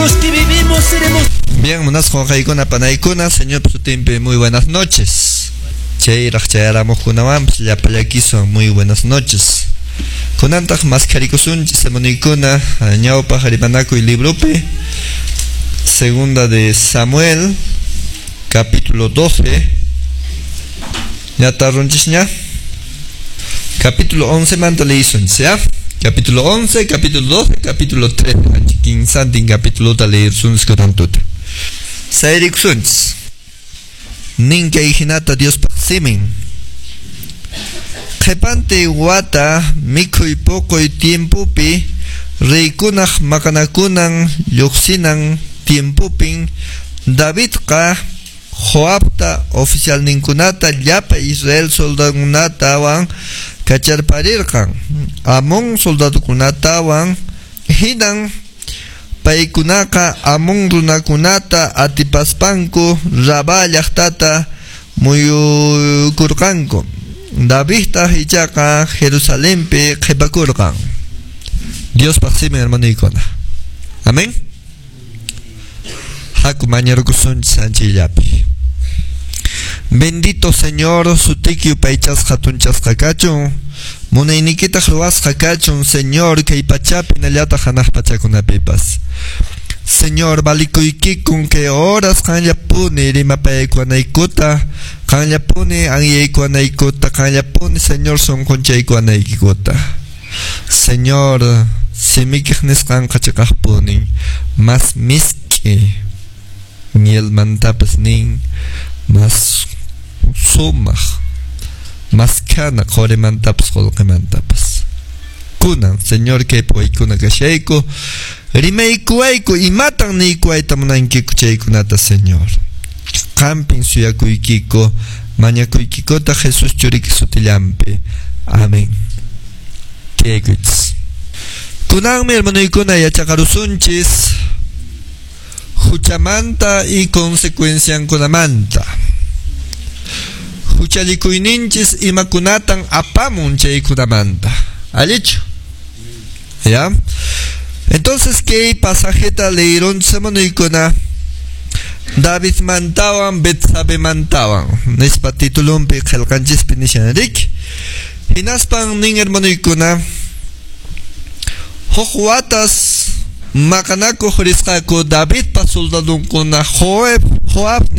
Los que vivimos seremos. Bien, munasqa wawqiykuna panaykuna, Señor sutinpi muy buenas noches. Chayraq chayaramuqkunawanpas llapallaykiwan muy buenas noches. Kunantaq maskharikusunchis hermanoykuna ñawpaq rimanakuy libropi, segunda de Samuel, capítulo 12. ¿Ya tarrunchisña? Capítulo 11 manta leyisunchis, ¿ya? Capítulo 11, capítulo 12, capítulo 13. Kinsantin capítulo leyisunchis kunantuta. Sayrikusunchis. Nin kay hinata Diospaq simin. Qhipante wata mikhuy puquy tiempopi reykunaq maqanakunan lluqsinan tiempopin Davidqa Joabta oficialninkunata llapa Israel soldadukunatawan kacharparirqan Amón soldadukunatawan hinan paykunaqa Amón runakunata atipaspanku Rabá llaqtata muyukurqanku. Davidtaq ichaqa Jerusalenpi qhipakurqan. Diospaq simin, hermanoykuna. Amén. Haku mañarukusunchis anchillapi. Bendito Señor, sutiki yupaychasqa hatunchasqa kachun. Munaynikitaq ruwasqa kachun, Señor, kay pachapi hinallataq hanaq pachakunapipas. Señor, valikuykikun kay horas qanllapuni rimapaykuwanaykuta, qanllapuni anyaykuwanaykuta, qanllapuni, Señor, sunqunchaykuwanaykikuta. Señor, simikiq nisqanqa chiqaqpunin, mas misk'i mielmantapas nin, mas sumaq, mas kana qurimantapas qullqimantapas. Kunan, Señor, kay paykuna kashayku, rimaykuwayku, imatan niykuwayta munankiku chaykunata, Señor. Qampin suyakuykiku, mañakuykikuta Jesús churiki sutillampi. Amén. Tiyaykuchis. Kunanmi, hermanoykuna, yachaqarusunchis huchamanta y consecuenciankunamanta. Huchallikuyninchis imakunatan apamun chaykunamanta. ¿Allichu? ¿Ya? Entonces, kay pasajeta leyironchis, hermanoykuna? David mantawan Betsabe mantawan nispa titulunpi qillqanchispi nishan riki. Hinaspan nin, hermanoykuna, huk watas maqanakuq risqaku Davidpa soldadunkuna Joab